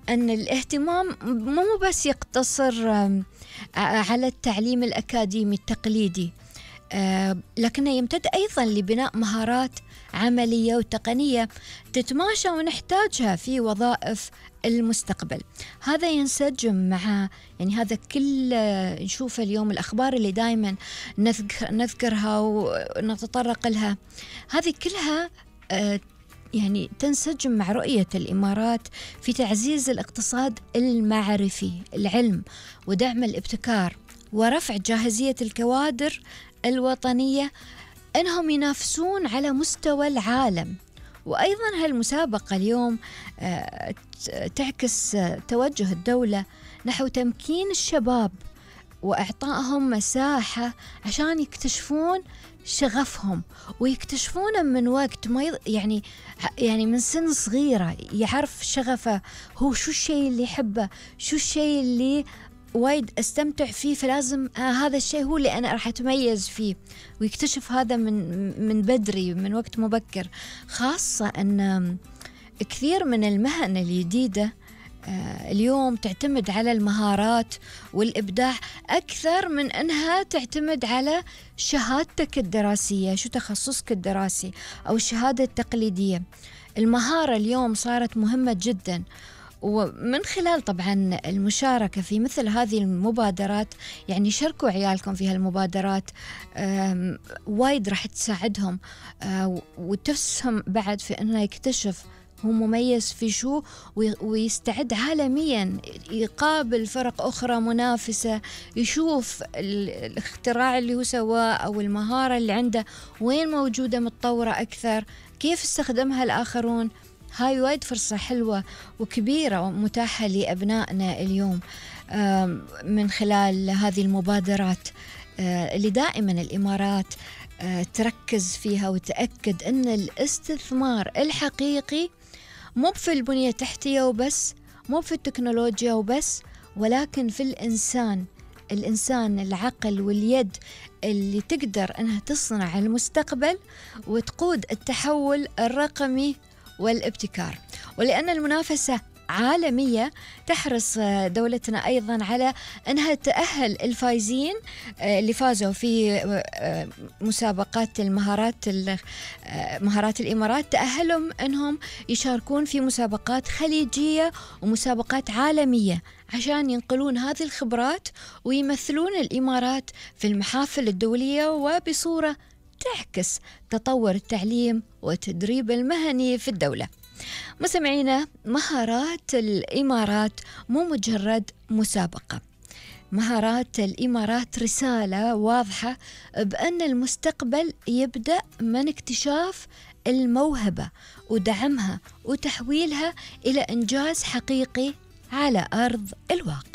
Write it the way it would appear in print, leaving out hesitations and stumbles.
أن الاهتمام مو بس يقتصر على التعليم الأكاديمي التقليدي، لكنه يمتد أيضا لبناء مهارات عملية وتقنية تتماشى ونحتاجها في وظائف المستقبل. هذا ينسجم مع يعني هذا كل نشوف اليوم الأخبار اللي دائما نذكرها ونتطرق لها، هذه كلها يعني تنسجم مع رؤية الإمارات في تعزيز الاقتصاد المعرفي، العلم ودعم الابتكار ورفع جاهزية الكوادر الوطنية أنهم ينافسون على مستوى العالم. وأيضا هالمسابقة اليوم تعكس توجه الدولة نحو تمكين الشباب وإعطائهم مساحة عشان يكتشفون شغفهم ويكتشفونه من وقت ما يعني من سن صغيرة، يعرف شغفه هو شو الشيء اللي يحبه، شو الشيء اللي وايد استمتع فيه، فلازم هذا الشيء هو اللي أنا راح أتميز فيه، ويكتشف هذا من بدري من وقت مبكر. خاصة أن كثير من المهن الجديدة اليوم تعتمد على المهارات والإبداع أكثر من أنها تعتمد على شهادتك الدراسية، شو تخصصك الدراسي أو الشهادة التقليدية. المهارة اليوم صارت مهمة جدا، ومن خلال طبعا المشاركة في مثل هذه المبادرات، يعني شاركوا عيالكم في هالمبادرات، وايد راح تساعدهم وتسهم بعد في أنه يكتشف هو مميز في شو، ويستعد عالميا يقابل فرق أخرى منافسة، يشوف الاختراع اللي هو سواه أو المهارة اللي عنده وين موجودة متطورة أكثر، كيف استخدمها الآخرون. هاي وايد فرصة حلوة وكبيرة ومتاحة لأبنائنا اليوم من خلال هذه المبادرات اللي دائما الإمارات تركز فيها وتأكد أن الاستثمار الحقيقي مو في البنية التحتية وبس، مو في التكنولوجيا وبس، ولكن في الإنسان العقل واليد اللي تقدر أنها تصنع المستقبل وتقود التحول الرقمي والابتكار. ولأن المنافسة عالمية تحرص دولتنا أيضا على أنها تأهل الفائزين اللي فازوا في مسابقات مهارات الإمارات، تأهلهم أنهم يشاركون في مسابقات خليجية ومسابقات عالمية عشان ينقلون هذه الخبرات ويمثلون الإمارات في المحافل الدولية وبصورة تعكس تطور التعليم والتدريب المهني في الدولة. مستمعينا، مهارات الإمارات مو مجرد مسابقة، مهارات الإمارات رسالة واضحة بأن المستقبل يبدأ من اكتشاف الموهبة ودعمها وتحويلها إلى إنجاز حقيقي على أرض الواقع.